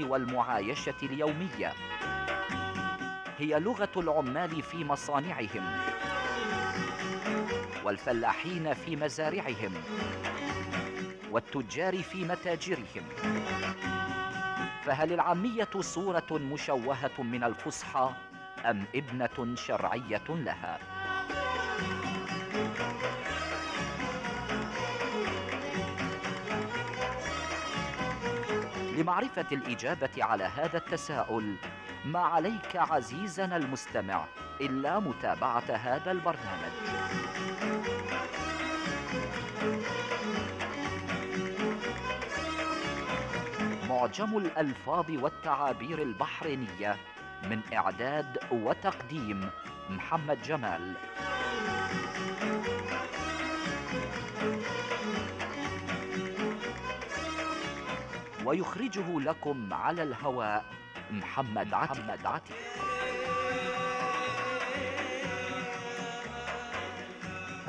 والمعايشة اليومية. هي لغة العمال في مصانعهم، والفلاحين في مزارعهم، والتجار في متاجرهم. فهل العامية صورة مشوهة من الفصحى أم ابنة شرعية لها؟ لمعرفة الإجابة على هذا التساؤل، ما عليك عزيزنا المستمع إلا متابعة هذا البرنامج. معجم الألفاظ والتعابير البحرينية، من إعداد وتقديم محمد جمال. ويخرجه لكم على الهواء محمد عتيق.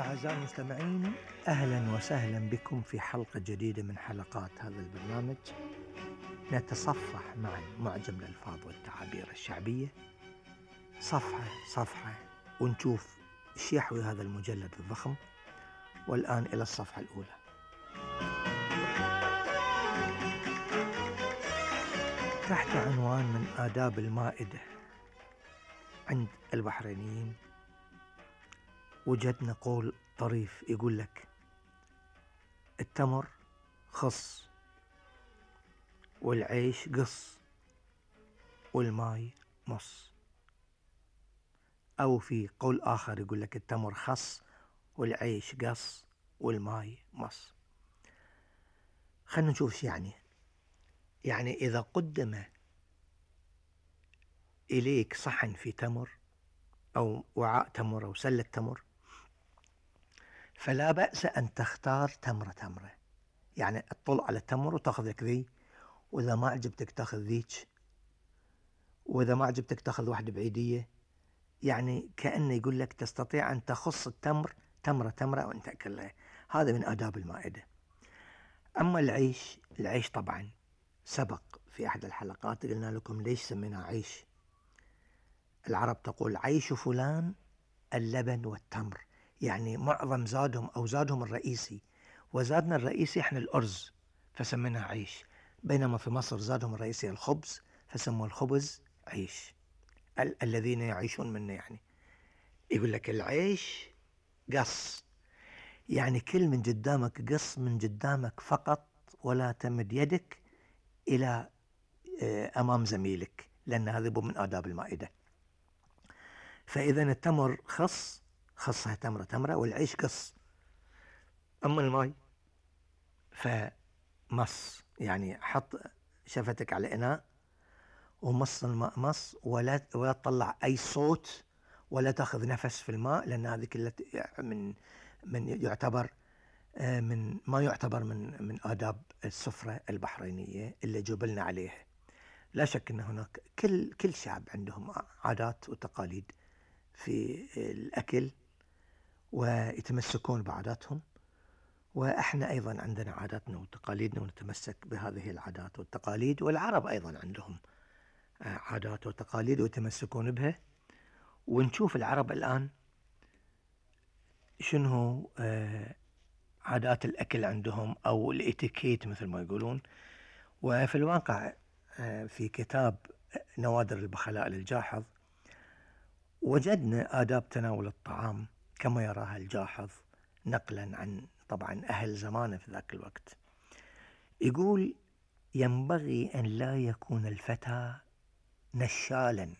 أعزائي المستمعين، أهلا وسهلا بكم في حلقة جديدة من حلقات هذا البرنامج. نتصفح معا معجم الألفاظ والتعابير الشعبية صفحة ونشوف ايش يحوي هذا المجلد الضخم. والآن إلى الصفحة الأولى. تحت عنوان من آداب المائدة عند البحرينيين، وجدنا قول طريف يقول لك: التمر خص، والعيش قص، والماي مص. أو في قول آخر يقول لك: التمر خص، والعيش قص، والماي مص. خلنا نشوف ايش يعني إذا قدم إليك صحن في تمر أو وعاء تمر أو سلة تمر، فلا بأس أن تختار تمرة، يعني تطل على التمر وتأخذ لك ذي، وإذا ما عجبتك تأخذ ذيك، وإذا ما عجبتك تأخذ واحدة بعيدية. يعني كأنه يقول لك تستطيع أن تخص التمر تمرة وأن تأكلها. هذا من آداب المائدة. أما العيش طبعا سبق في أحد الحلقات قلنا لكم ليش سميناه عيش. العرب تقول: عيش فلان اللبن والتمر، يعني معظم زادهم الرئيسي، وزادنا الرئيسي احنا الأرز فسميناه عيش. بينما في مصر زادهم الرئيسي الخبز فسموا الخبز عيش، الذين يعيشون منه. يعني يقول لك العيش قص، يعني كل من قدامك قص من قدامك فقط، ولا تمد يدك إلى أمام زميلك، لأن هذا من آداب المائدة. فإذا التمر خصها تمرة، والعيش قص. أما الماء فمص، يعني حط شفتك على إناء ومص الماء مص، ولا تطلع أي صوت ولا تأخذ نفس في الماء، لأن هذه كلها من يعتبر من آداب السفرة البحرينية اللي جبلنا عليها. لا شك أن هناك كل شعب عندهم عادات وتقاليد في الأكل ويتمسكون بعاداتهم، وإحنا أيضا عندنا عاداتنا وتقاليدنا ونتمسك بهذه العادات والتقاليد. والعرب أيضا عندهم عادات وتقاليد ويتمسكون بها. ونشوف العرب الآن شنو عادات الأكل عندهم، أو الإتيكيت مثل ما يقولون. وفي الواقع في كتاب نوادر البخلاء للجاحظ وجدنا آداب تناول الطعام كما يراها الجاحظ، نقلا عن طبعا أهل زمانه في ذاك الوقت. يقول: ينبغي أن لا يكون الفتى نشالا.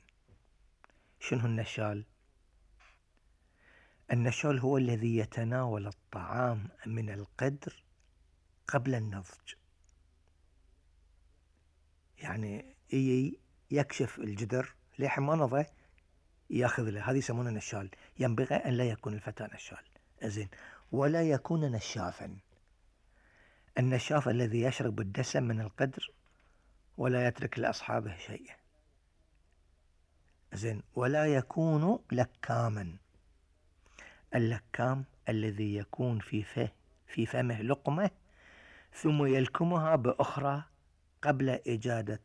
شنو النشال؟ النشال هو الذي يتناول الطعام من القدر قبل النضج، يعني يكشف الجدر لحين ما نضج ياخذ له، هذه يسمونه نشال. ينبغي أن لا يكون الفتى نشال. زين، ولا يكون نشافا. النشاف الذي يشرب الدسم من القدر ولا يترك لأصحابه شيء. زين، ولا يكون لكاما. اللكام الذي يكون في فمه لقمة ثم يلكمها بأخرى قبل إجادة